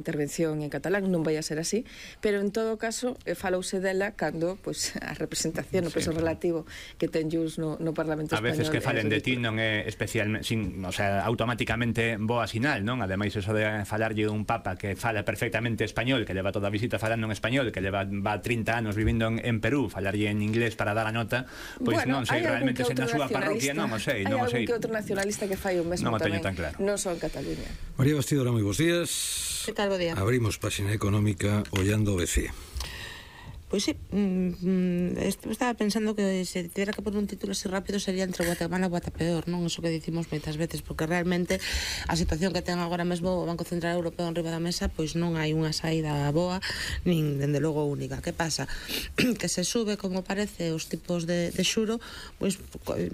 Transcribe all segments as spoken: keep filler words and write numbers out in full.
intervención en catalán, non vai a ser así, pero en todo caso eh, falouse dela cando pois, a representación, o peso sí. relativo que ten Junts no, no Parlamento Español. A veces que falen de ti non é especialmente, sin, o sea, automáticamente boa sinal, non? Ademais, eso de falarlle dun papa que fala perfectamente español, que leva toda a visita falando en español, que leva va trinta anos vivindo en, en Perú, falarlle en inglés para dar a nota, pois bueno, non sei realmente se na súa parroquia, non o sei, non o sei. Hai algún que outro nacionalista que fai o mesmo non tamén, tan claro. non só en Cataluña. María Bastidora, moi bons días. Que tal, bo día? Abrimos páxina económica ollando o B C E. Pois sí, mm, estaba pensando que se tivera que poner un título así rápido sería entre Guatemala e Guatapeor, non? Eso que dicimos moitas veces, porque realmente a situación que ten agora mesmo o Banco Central Europeo en riba da mesa, pois non hai unha saída boa, nin dende logo única. Que pasa? Que se sube, como parece, os tipos de, de xuro, pois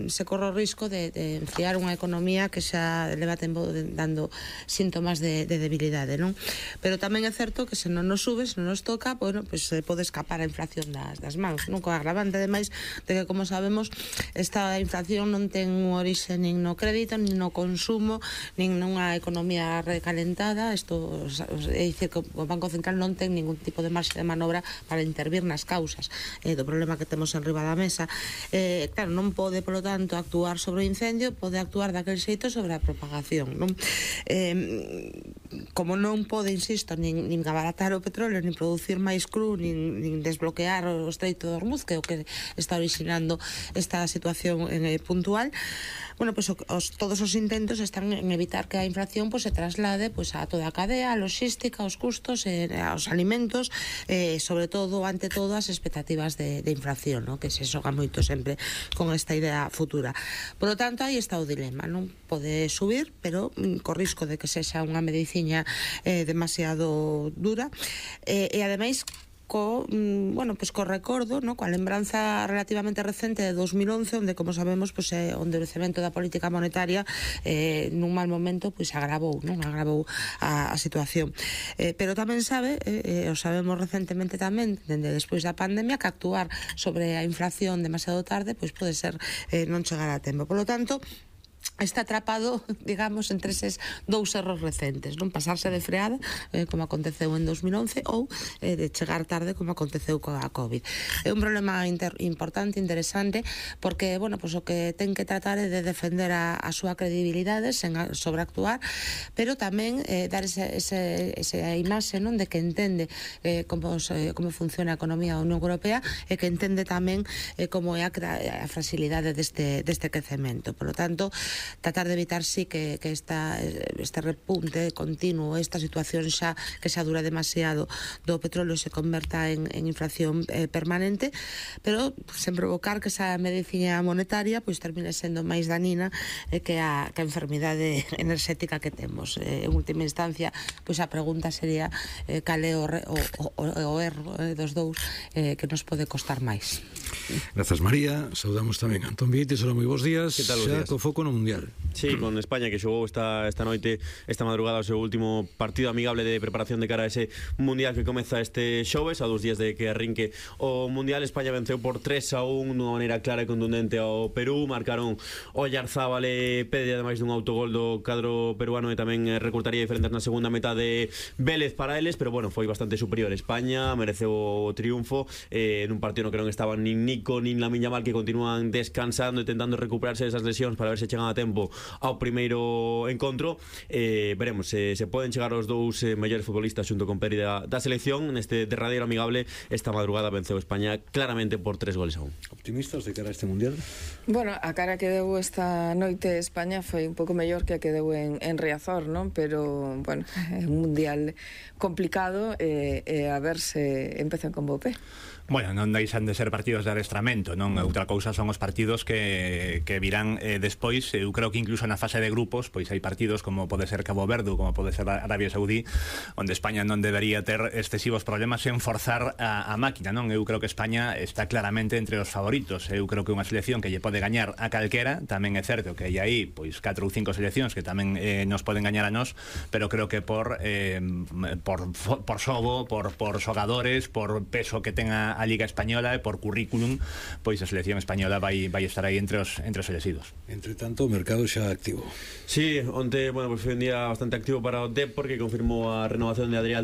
se corre o risco de, de enfriar unha economía que xa leva tempo dando síntomas de, de debilidade, non? Pero tamén é certo que se non nos sube, se non nos toca, bueno, pois se pode escapar a inflación das, das mans, non? Co agravante, ademais, de que, como sabemos, esta inflación non ten un orixe nin no crédito, nin no consumo, nin nunha economía recalentada. Isto é dicir que o Banco Central non ten ningún tipo de marxe de manobra para intervir nas causas eh, do problema que temos en riba da mesa. Eh, claro, non pode, polo tanto, actuar sobre o incendio, pode actuar daquel xeito sobre a propagación, non? Eh, como non pode, insisto, nin, nin abaratar o petróleo, nin producir máis cru, nin, nin desbloquear o estreito de Hormuz, que é o que está originando esta situación eh, puntual. Bueno, pues os, todos os intentos están en evitar que a inflación pues, se traslade pues, a toda a cadea, a logística, aos custos, eh, aos alimentos, eh, sobre todo, ante todo, as expectativas de, de inflación, ¿no? Que se xoga moito sempre con esta idea futura. Por lo tanto, aí está o dilema, non pode subir, pero mm, co risco de que sexa unha mediciña eh, demasiado dura, eh, e ademais co, bueno, pues co recordo, no? Coa lembranza relativamente recente de dos mil once, onde, como sabemos, pues, eh, o endurecemento da política monetaria eh, nun mal momento pues, agravou, non? agravou a, a situación. Eh, pero tamén sabe, eh, o sabemos recentemente tamén, dende despois da pandemia, que actuar sobre a inflación demasiado tarde pues, pode ser eh, non chegar a tempo. Por lo tanto, está atrapado, digamos, entre eses dous erros recentes, non? Pasarse de freada, eh, como aconteceu en dos mil once, ou eh, de chegar tarde, como aconteceu coa COVID. É un problema inter importante, interesante, porque, bueno, pues, o que ten que tratar é de defender a, a súa credibilidade sen a, sobreactuar, pero tamén eh, dar ese, ese, esa imaxe, non? De que entende eh, como, se, como funciona a economía da Unión Europea e que entende tamén eh, como é a, a fragilidade deste, deste crecemento. Por lo tanto, tratar de evitar sí que, que esta, este repunte continuo, esta situación xa que xa dura demasiado do petróleo se converta en, en inflación eh, permanente, pero sen provocar que esa medicina monetaria pois termine sendo máis danina eh, que, a, que a enfermidade enerxética que temos. Eh, en última instancia, pois a pregunta sería eh, cal é o, o, o, o erro eh, dos dous eh, que nos pode costar máis. Grazas, María. Saudamos tamén a Antón Vieites. Hola, moi bons días. Que tal, bons días? Xa co foco no Mundial. Sí, con España, que xogou esta, esta noite, esta madrugada, o seu último partido amigable de preparación de cara a ese Mundial que comeza este xoves, a dos días de que arrinque o Mundial. España venceu por tres a un dunha maneira clara e contundente ao Perú. Marcaron Oyarzábal e Pedri, ademais dun autogol do cadro peruano, e tamén recortaría diferentes na segunda metade Vélez para eles, pero bueno, foi bastante superior. España mereceu o triunfo eh, nun partido no que non estaban nin Nico nin Lamine Yamal, que continúan descansando e tentando recuperarse desas lesións para ver se chegan a tempo ao primeiro encontro. Eh, veremos se, se poden chegar os dous eh, mellores futbolistas xunto con Pedri da, da selección neste derradeiro amigable. Esta madrugada venceu España claramente por tres goles a un. Optimistas de cara a este Mundial? Bueno, a cara que deu esta noite España foi un pouco mellor que a que deu en, en Riazor, non? Pero, bueno, é un Mundial complicado e eh, eh, a ver se empezan con bo pé. Bueno, non deixan de ser partidos de adestramento, non? Outra cousa son os partidos que, que virán eh, despois. Eu creo que incluso na fase de grupos pois hai partidos como pode ser Cabo Verde, como pode ser Arabia Saudí, onde España non debería ter excesivos problemas en forzar a, a máquina, non? Eu creo que España está claramente entre os favoritos. Eu creo que unha selección que lle pode gañar a calquera. Tamén é certo que hai aí pois catro ou cinco seleccións que tamén eh, nos poden gañar a nós, pero creo que por eh, por, por xogo, por, por xogadores, por peso que tenga a Liga Española e por currículum, pois a selección española vai, vai estar aí entre os, entre os elegidos. Entre tanto, o mercado xa activo. Sí, onte, bueno, pues foi un día bastante activo para o Dep, porque confirmou a renovación de Adrián